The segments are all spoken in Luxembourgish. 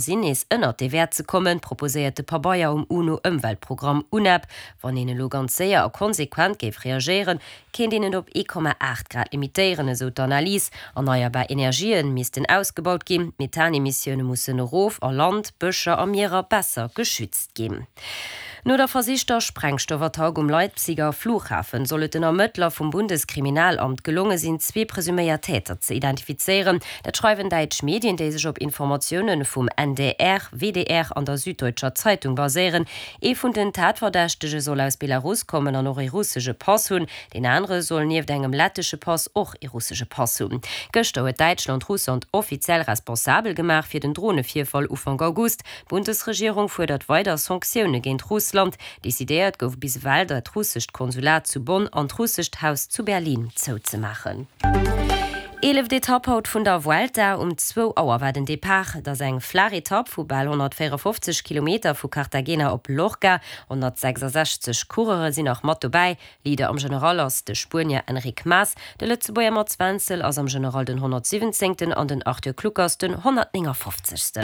Sinn nees ënnert dee Wäert ze kommen, proposéiert de Pabeier um UNO-Ëmweltprogramm UNEP. Wann een elo ganz séier a konsequent géif reagéieren, kéint een et op 1,8 Grad limitéieren, esou d'Analys. Erneierbar Energië missten ausgebaut ginn, d'Methanemissioune mussen erof a Land, Bëscher a Mierer besser geschützt ginn. No der versichter Sprengstoffattack um Leipziger Flughafen soll et den Ermëttler vum Bundeskriminalamt gelonge sinn, zwee presuméiert Täter ze identifizéieren. Dat schreiwen däitsch Medien, déi sech op Informatioune vum NDR, WDR an der Süddeutscher Zeitung baséieren. Ee vun den Tatverdächtege soll aus Belarus kommen an och ee russesche Pass hunn. Deen anere soll nieft engem lettesche Pass och ee russesche Pass hunn. Gëschter huet Däitschland Russland offiziell responsabel gemaach fir den Dronevirfall Ufank August. D'Bundesregierung fuerdert weider Sanktioune géint Russland. Decidéiert gouf bis ewell, dat russescht Konsulat zu Bonn an d'russescht Haus zu Berlin zouzemaachen. Eeleft Etapp haut vun der Vuelta. Um zwou Auer war den Depart. Et ass eng flaach Etapp vu bal 154 Kilometer vu Cartagena op Lorca. 166 Coureure sinn nach mat dobäi. Leader am General ass de Spuenier Enric Mas, de Lëtzebuerger Mats Wenzel ass am General den 117. An den Arthur Kluckers den 159.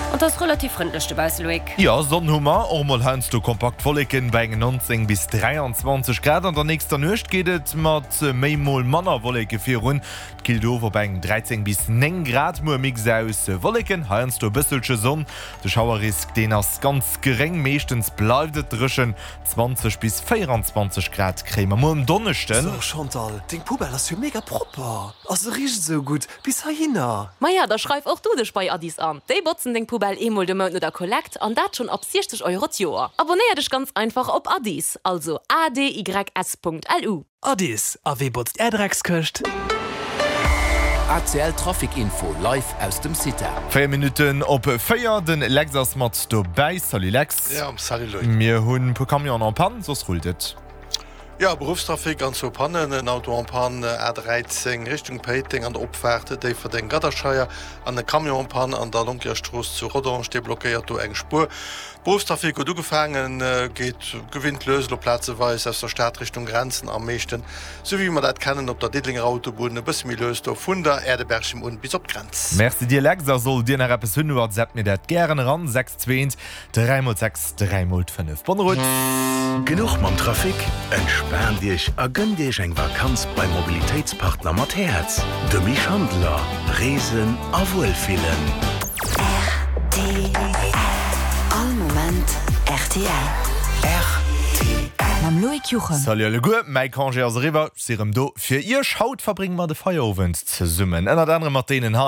An et ass relativ frëndlech dobausse, Loïc. Jo, Sonn hu mer, och mol heiansdo kompakt Wolleken bei engen 19 bis 23 Grad. An der nächster Nuecht geet et mat méi mol manner Wolleke virun, et killt of op eng 13 bis 9 Grad. Muer Mix aus Wolleken, heiansdo e bësselche Sonn, de Schauerrisk deen ass ganz geréng, meeschtens bleift et dréchen. 20 bis 24 Grad kréie mer muer um Donneschden. So Chantal, deng Poubelle ass jo mega propper a se richt esou gutt bis heihinner. Maja, da schreif och du dech bei Addis an. Déi botzen deng Poubelle eemol de Mount no der Kollekt an dat schonn ab 60 Euro d'Joer. Abonnéier dech ganz einfach op Addis, also adys.lu. Addis, a wee botzt är Dreckskëscht? ACL Trafic Info live aus dem CITA. 4 Minutten op 4, den Lex ass mat dobäi. Salut Lex. Ja, salut Loïc. Mir hunn e puer Camionen en panne, soss rullt et. Jo, Beruffstrafic an zwou Pannen, en Auto en panne A13 Richtung Péiteng an der Opfaart Déifferdeng-Gadderscheier an e Camion en panne an der Lonkierstrooss zu Rodange, dee blockéiert do eng Spuer. Beruffstrafic huet ugefaangen, geet gewinnt lues elo plazeweis aus der Stad Richtung Grenzen, am meeschten, sou wéi mer dat kennen, op der Diddelenger Autobunn, e bësse méi lues do vun der Aire de Berchem un bis op d'Grenz. Merci dir Lex, a sollt dir nach eppes hunn, whatsappt mir dat gären eran, 6 2 1 3 mol 6 3 mol 5. Bonne route! Genuch mam Trafic? Entspaant Iech a gënnt Iech eng Vakanz beim Mobilitéitspartner mat Häerz, dem Misch Handeler. Reesen a Wuelfillen. Rtl. All Moment rtl. Rtl. Mam Loïc Juchem. Salut alleguer, mäi Congé ass eriwwer, ech si rëm do fir iech. Haut verbrénge mer de Feierowend zesummen, ënnert anerem mat deenen hei.